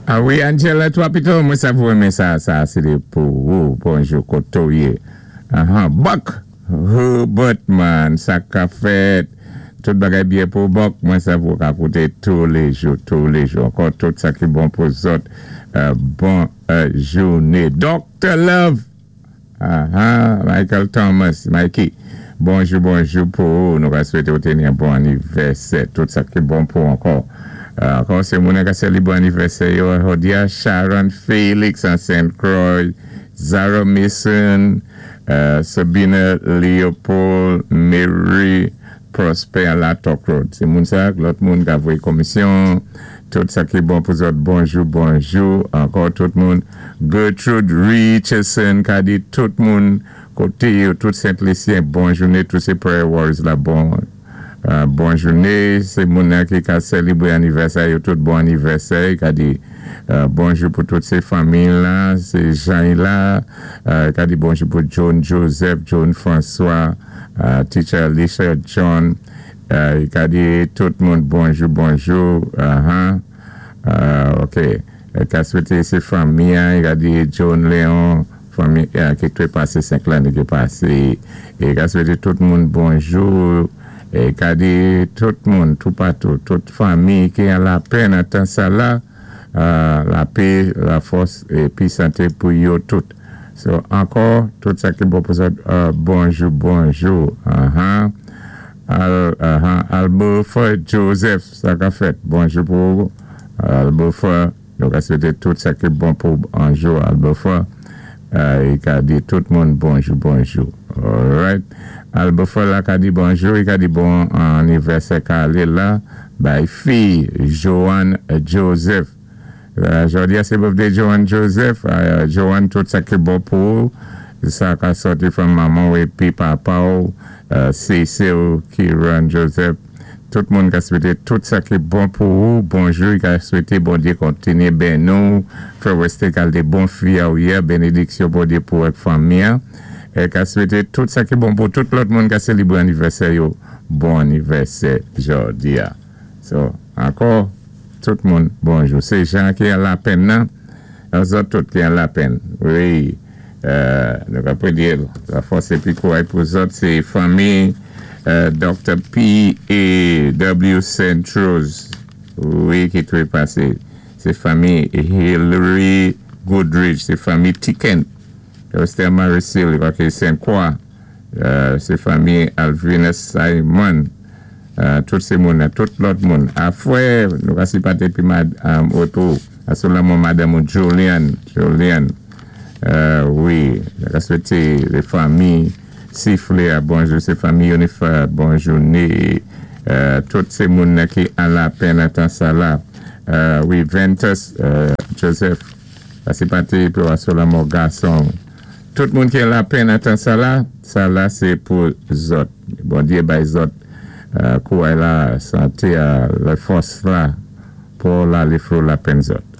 A wi, Angela, twa pito, mwen sa pou renmen sa, sa sé pou ou. Bonjou, koto yé. Aha, Buck, Hubertman, sa ka fèt. Tout bagay byen pou Buck, mwen sa pou ka kouté touléjou, touléjou. Ankò tout sa ki bon pou zòt. Bon jouné. Dr. Love, aha, Michael Thomas, Mikey. Bonjou, bonjou pou ou. Nou ka swété ou téni yon bon anivèsè. Tout sa ki bon pou ankò. Ankò sé moun ka sélibwé anivèsè yo jòdi a, Sharon Felix an St. Croix, Zara Mason, Sabina Leopold, Mary Prosper la Talk Road. Sé moun sa, lòt moun ka voyé komisyon. Tout sa ki bon pou zòt, bonjou, bonjou. Ankò tout moun. Gertrude Richardson ka di tout moun koté yo, tout Sent Lisyen, bon jouné, tout sé prayer warriors la, bon jouné. Sé moun nan ki ka sélibwé anivèsè yo, tout bon anivèsè, ka di bonjou pou tout sé fanmi la, sé Jean la, ka di bonjou pou John Joseph, John François, Teacher Alicia John, ka di tout moun bonjou, bonjou, ok, ka swété sé fanmi, ka di John Léon, fanmi ki té pasé 5 lanné ki pasé, é ka swété tout moun bonjou, é ka di tout moun, toupatou, tout fanmi ki an lapenn an tan sa la, lapè, lafòs épi santé pou yo tout. So, ankò, tout sa ki bon pou sa, bonjou, bonjou. Albofa Joseph, sa ka fèt. Bonjou pou Albofa. Nou ka swété tout sa ki bon pou anjou Albofa. I ka di tout moun bonjou, bonjou. Alright. Albofa la ka di bonjou, i ka di bon anivèsè ka alé la bay fi Joanne Joseph. Jòdi a sé birthday Joanne Joseph. Joanne, tout sa ki bon pou ou. Sa ka sòti from manman ou épi papa ou, Cecil, Kiran Joseph. Tout moun ka swété tout sa ki bon pou ou. Bonjou, i ka swété Bondyé kontinyé beni ou, fè ou wèsté kalité bon fi a ou yé, bénédiksyon Bondyé pou ak fanmi an. É ka swété tout sa ki bon pou tout lòt moun ka sélibwé anivèsè yo. Bon anivèsè jòdi a. So, ankò, tout moun, bonjou. Sé Jean ki an lapenn nan, zòt tout ki an lapenn. Wi, nou ka pwédyé lafòs épi kouray pou zòt, sé fanmi Dr. P. A. W. Saint Rose, wi, ki twépasé. Sé fanmi Hillary Goodrich, sé fanmi Tiken, Esther Maricil, ki Saint Croix, sé fanmi Alvina Simon, tout sé moun, tout lòt moun. Afwè, nou ka sipaté pi mad oto, asou lanmò madanm ou Julian, Julian, wi, nou ka swété lé fanmi Siflé, bonjou, sé fanmi Yonifa, bonjou, né, tout sé moun ki an lapenn an tan sa la. Wi, Ventus Joseph, ka sipaté pi asou lanmò gason. Tout moun ki an lapenn an tan sa la, sa la sé pou zòt. Bondyé bay zòt kouray la, santé a, lafòs la, pou la lé fò lapenn zòt.